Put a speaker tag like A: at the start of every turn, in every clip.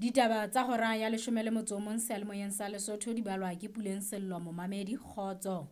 A: Ditaba tsa hora ya 11 seyalemoyeng sa Lesotho di balwa ke Puleng Sello momamedi kgotso.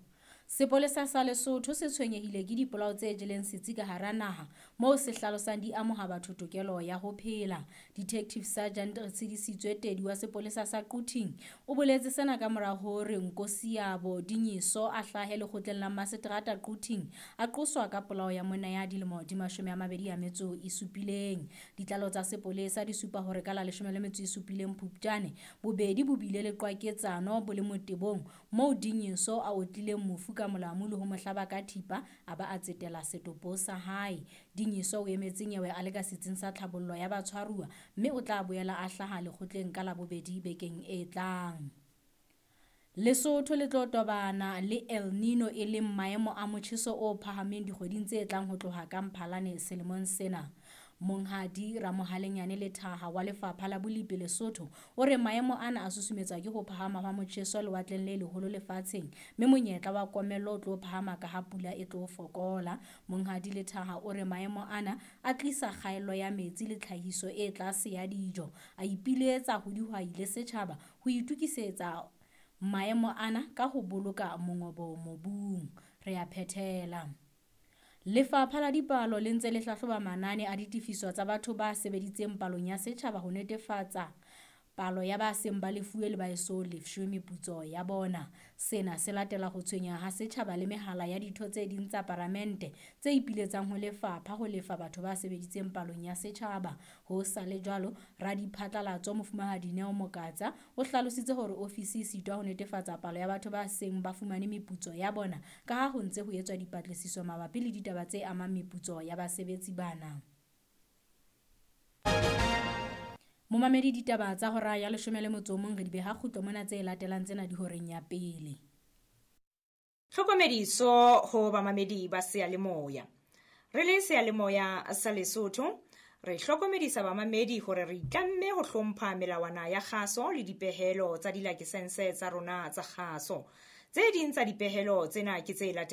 A: Sepolesa sa Lesotho se tshwenyehile ke dipolao tse jeleng setsi ka hara naha moo se hlalosang di amoha batho tokelo ya ho phela. Detective Sergeant Retshidisitswe Tedi wa sepolesa sa Quthing o boletse sena ka mora hore Nkosiyabo Dinyiso a hlahe lekgotleng la maseterata Quthing a qoswa ka polao ya monna ya dilemo di 27. Ditlaleho tsa sepolesa di supa hore ka la 17 Phupjane bobedi bo bile le qwaketsano bo le motebong moo Dinyiso a otlileng mofu ka molamu le ho mo hlaba ka thipa a ba a tsetela setopo sa hae. Dinyiso o emetse nyewe a le ka setsing sa tlhabollo ya batshwaruwa mme o tla boela a hlaha lekgotleng ka Labobedi bekeng e tlang. Lesotho le tlo tobana le El Nino e leng maemo a motjheso o phahameng dikgweding tse tlang ho tloha ka Mphalane selemong sena. Monghadi Ramohalenyane Lethaha wa Lefapha la Bolipi Lesotho o re maemo ana a susumetswa ke ho phahama hwa motjheso lewatleng le leholo lefatsheng mme monyetla wa komello o tlo phahama ka ha pula e tlo fokola. Monghadi Lethaha o re maemo ana a tlisa kgaello ya metsi le tlhahiso e tlase ya dijo. A ipiletsa ho dihwai le setjhaba ho itokisetsa maemo ana ka ho boloka mongobo mobung. Re a phethela. Lefapha la Dipalo le ntse le hlahloba manane a ditefiso tsa batho ba sebeditseng palong ya setjhaba ho netefatsa palo ya ba seng ba lefuwe le ba eso lefshwe meputso ya bona. Sena se latela ho tshwenyeha ha setjhaba le mehala ya ditho tse ding tsa paramente tse ipiletsang ho lefapha ho lefa batho ba sebeditseng palong ya setjhaba. Ho sa le jwalo, radiphatlalatso Mofumahadi Neo Mokatsa o hlalositse hore ofisi e sitwa ho netefatsa palo ya batho ba seng ba fumane meputso ya bona ka ha ho ntse ho etswa dipatlisiso mabapi le ditaba tse amang meputso ya basebetsi bana. Momamedi ditaba tsa hora ya 11 re di beha kgutlo mona tse latelang tsena di horeng ya pele.
B: Tlhokomediso ho bamamedi ba seyalemoya. Re le seyalemoya sa Lesotho, re hlokomedisa bamamedi hore re itlamme ho hlompha melawana ya kgaso le dipehelo tsa dilakesense tsa rona tsa kgaso. Tse ding tsa dipehelo tsena ke tse latelang.